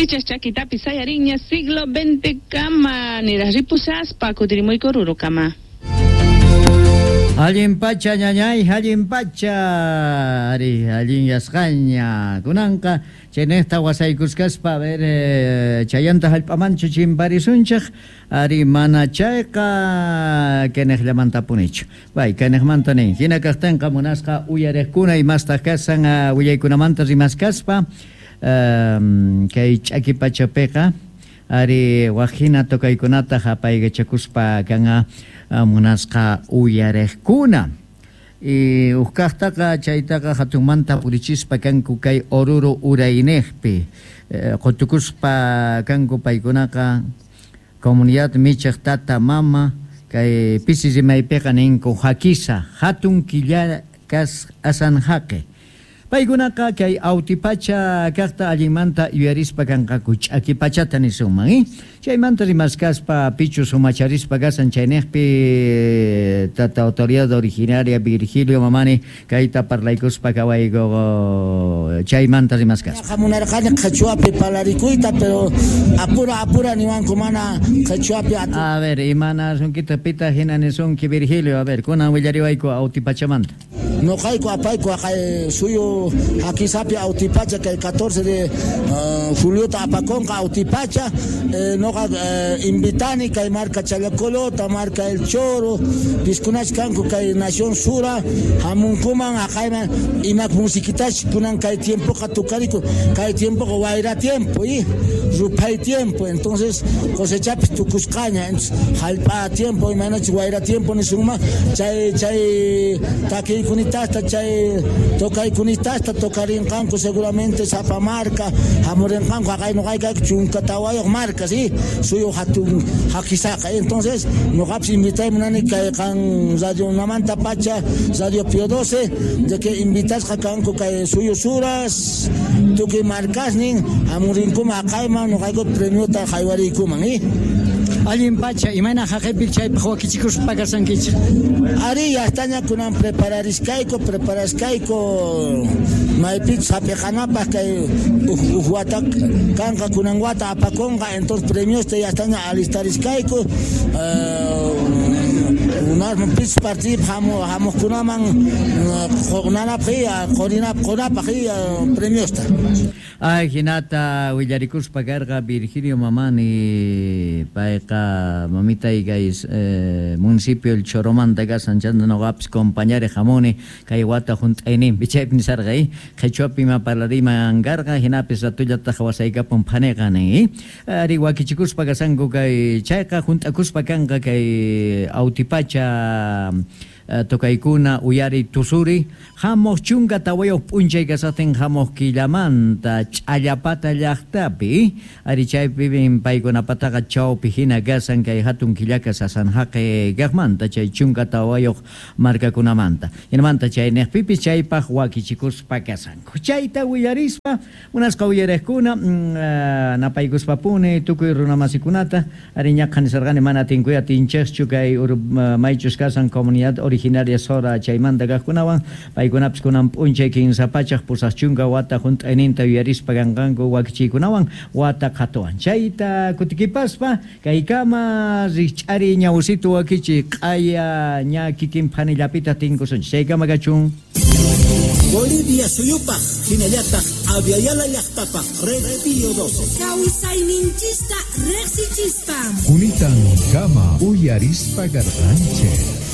Pichas chakitapi sayarinña siglo XX kama niraq ripushaspa kutirimuyku Orurokama. Allin pacha ñañay, allin pacha, ari, allin yasqaña. Kunanqa chaynejta wasaykuskaspa, a ver, chayanta hallp'amanchu chimparisunchik, ari mana chayqa kaniqllamantapunichu. Bay, kaniqmanta nin, hina kaqtinqa munasqa uyariqkuna imastaq kasan willaykunamanta rimaskaspa, kay ch'aki pachapiqa, ari wak hina tocaykunata hapaykachakuspa kanqa munasqa uyariqkuna. Y ukkaqtaqa chaytaqa hatunmanta purichispa kanku kay Oruro urayniqpi. Qutukuspa kanku paykunaqa comunidad michiq tata mama kay pisi rimaypiqa ninku hakisa hatun killa kas asanhaqi. Paykunaqa kay awtipacha kaqta allinmanta yuyarispa kanqaku ch'aki pachata nisunman, Chaymanta rimaskaspa pichus umacharispa kasan chayniqpi tata autoridad originaria Virgilio Mamani kayta parlaykuspa kawayku chaymanta rimaskaspa. Munarqani qhichwapi parlarikuyta, pero apura apura niwanku mana qhichwapi. A ver, imanasunkita pita hina nisunki Virgilio, a ver, kunan willariwayku awtipachamanta. Noqayku apayku haqay suyu hakisapi awtipacha kay 14 de juliota apakunqa awtipacha, noqa invitani kay marka Challacolota, marka El Choro, piskunash kanku kay Nación Sura, hamunkuman haqayman imak musiquitash kunan kay tiempoqa tukariku, kay tiempoqa wayra tiempo, ruphay tiempo, entonces cosechapis tukusqaña, entonces hallp'a tiempo imaynachus wayra tiempo nisunman, chay chay takiykunitasta chay tocaykunitasta tocarinqanku seguramente sapa marka hamurinqanku haqay noqayku chunka tawayuq marka, sí, suyu hatun hakisaqa, entonces noqapis invitay munani kay qan radio Namanta Pacha, Radio Pío 12, de que invitasqa kanku kay suyu suras tukuy markasnin hamurinkuman haqayman noqayku premiota haywariykuman, Allin pacha, imayna haqaypi chaypaq wakichikuspa kasankichik? Ari, yastaña kunan preparariskayku, preparashkayku maypichus hap'iqanapaq kay uj wata kanqa kunan wata apakunqa, entonces premiosta yastaña alistarishkayku, pichus partidipaq hamuqkunaman qunanapaq qurinapaq qunapaq premiosta. Ay, hinata willarikuspa karqa Virgilio Mamani, payqa mamitay kay municipio El Choromanta kasan chanta noqapis compañare hamuni kay wata hunt'ayninpi chaypi nisarqa, qhichwapi ima parlariman karqa hinapis ratullataq wasaykapun phaniqa nin, ari wakichikuspa kasanku kay chayqa hunt'akuspa kanqa kay awtipacha tocaykuna uyari tusuri hamuq chunka tawayuq p'unchay kasaqtin hamuq killamanta ch'allapata llaqtapi ari chaypi paykunapataqa chawpi hina kasan kay hatun killaka sasanhaqi kaqmanta chay chunka tawayuq markakunamanta hinamanta chayniqpipis chaypaq wakichikuspa kasanku chayta willarispa munasqa uyariqkuna napaykuspapuni tukuy runamasikunata ari ñaqa nisarqani mana tinkuy atinchikchu kay maychus kasan comunidad originaria Sora chaymanta kaqkunawan paykunapis kunan p'unchay kinsa pachaq pusaq chunka wata hunt'ayninta yuyarispa kanqanku wakichiykunawan wata qhatuwan chayta kutikipaspa kaykama rikch'ari ñawsitu wakichi q'aya ña kikin phanillapita tinkusunchik chaykama kachun. Bolivia suyupaq hinallataq Abya Yala llaqtapaq Red Pío 12. Kawsayninchista riqsichispa. Kunitan kama uyarispa karqanchik.